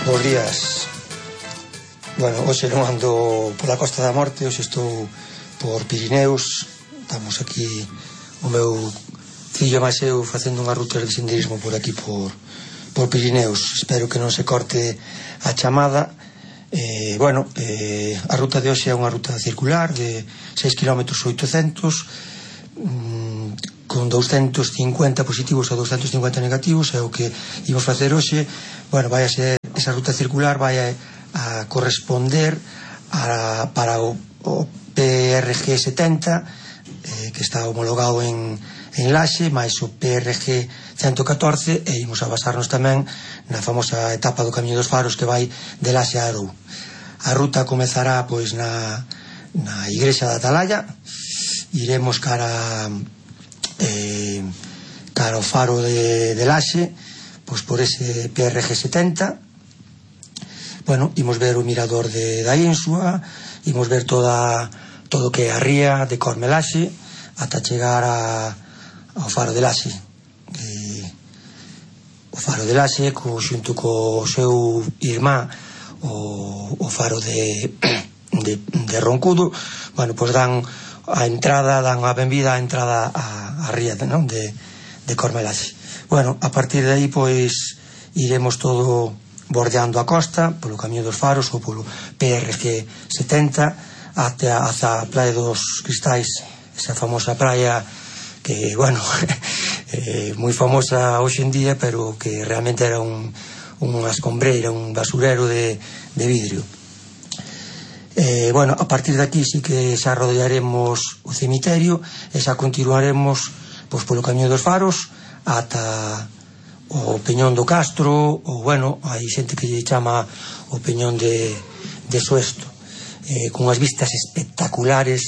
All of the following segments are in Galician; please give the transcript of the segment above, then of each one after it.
Bos días. Bueno, hoxe non ando pola Costa da Morte, hoxe estou por Pirineos. Estamos aquí o meu fillo máis eu facendo unha ruta de senderismo por aquí por Pirineos. Espero que non se corte a chamada. A ruta de hoxe é unha ruta circular de 6 km 800 con 250 positivos e 250 negativos. É o que imos facer hoxe. Bueno, vai a ser esa ruta circular, vai a corresponder para o PRG 70, que está homologado en Laxe, máis o PRG 114, e imos a basarnos tamén na famosa etapa do Camiño dos Faros que vai de Laxe a Arou. A ruta comezará pois na igrexa da Atalaya, iremos cara ao faro de Laxe, pois por ese PRG 70. Bueno, imos ver o mirador da Ínsua, imos ver todo o que é a ría de Cormelaxe ata chegar ao faro de Laxe. O faro de Laxe xunto co seu irmán o faro de Roncudo, bueno, pois dan a benvida á entrada á ría de Cormelaxe. Bueno, a partir de aí pois iremos todo bordeando a costa polo Camiño dos Faros ou polo PRG 70 ata a Praia dos Cristais, esa famosa praia que, bueno, moi famosa hoxe en día, pero que realmente era unha escombreira, un basurero de vidrio. Bueno, a partir de aquí sí que xa rodearemos o cemiterio e xa continuaremos pois polo Camiño dos Faros ata o Peñón do Castro, ou, bueno, hai xente que lle chama o Peñón de Soesto, con unhas vistas espectaculares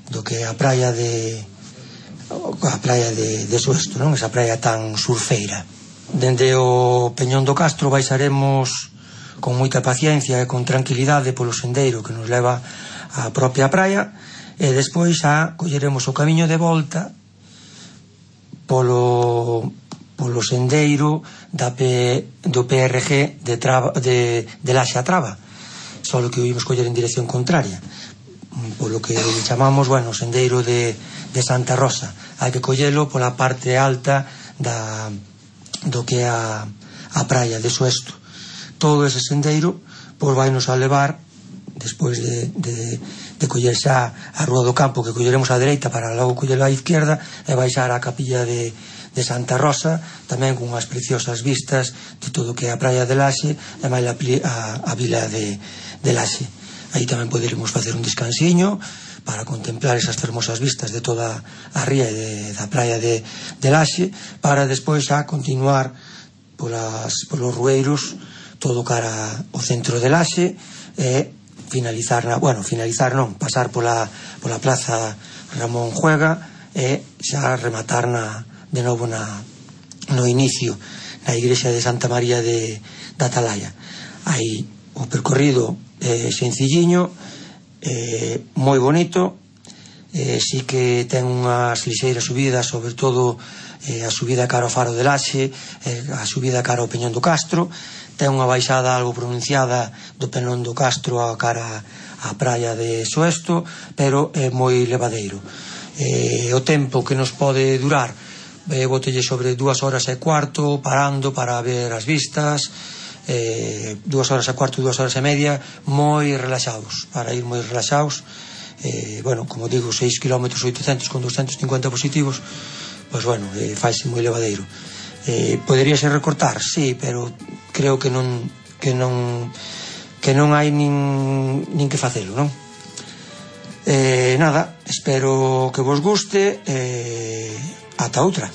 do que a praia de Soesto, non? Esa praia tan surfeira. Dende o Peñón do Castro baixaremos con moita paciencia e con tranquilidade polo sendeiro que nos leva á propia praia, e despois xa colleremos o camiño de volta polo sendeiro do PRG de Laxe a Traba, só que o imos coller en dirección contraria, polo que chamamos, bueno, o sendeiro de Santa Rosa. Hai que collelo pola parte alta do que é a praia de Soesto. Todo ese sendeiro pois vai nos a levar, despois de coller xa a Rúa do Campo, que colleremos á dereita para logo coller á izquierda, e baixar á capilla de Santa Rosa, tamén con unhas preciosas vistas de todo o que é a praia de Laxe e máis a vila de Laxe. Aí tamén poderemos facer un descansiño para contemplar esas fermosas vistas de toda a ría e da praia de Laxe, para despois xa continuar polos rueiros todo cara ao centro de Laxe e pasar pola plaza Ramón Juega e xa rematar de novo no inicio na igrexa de Santa María da Atalaya. Aí o percorrido sencilliño, moi bonito, sí que ten unhas lixeiras subidas, sobre todo a subida cara ao faro de Laxe, a subida cara ao Peñón do Castro. Ten unha baixada algo pronunciada do Peñón do Castro a cara á praia de Soesto, pero é moi levadeiro. O tempo que nos pode durar, botelle sobre 2 horas e cuarto, parando para ver as vistas, 2 horas e cuarto, 2 horas e media, moi relaxados, para ir moi relaxados. Bueno, como digo, 6 km 800 con 250 positivos, pois, bueno, faise moi levadeiro. Poderíase recortar, sí, pero creo que non hai nin que facelo, non? Nada, espero que vos guste, ata outra.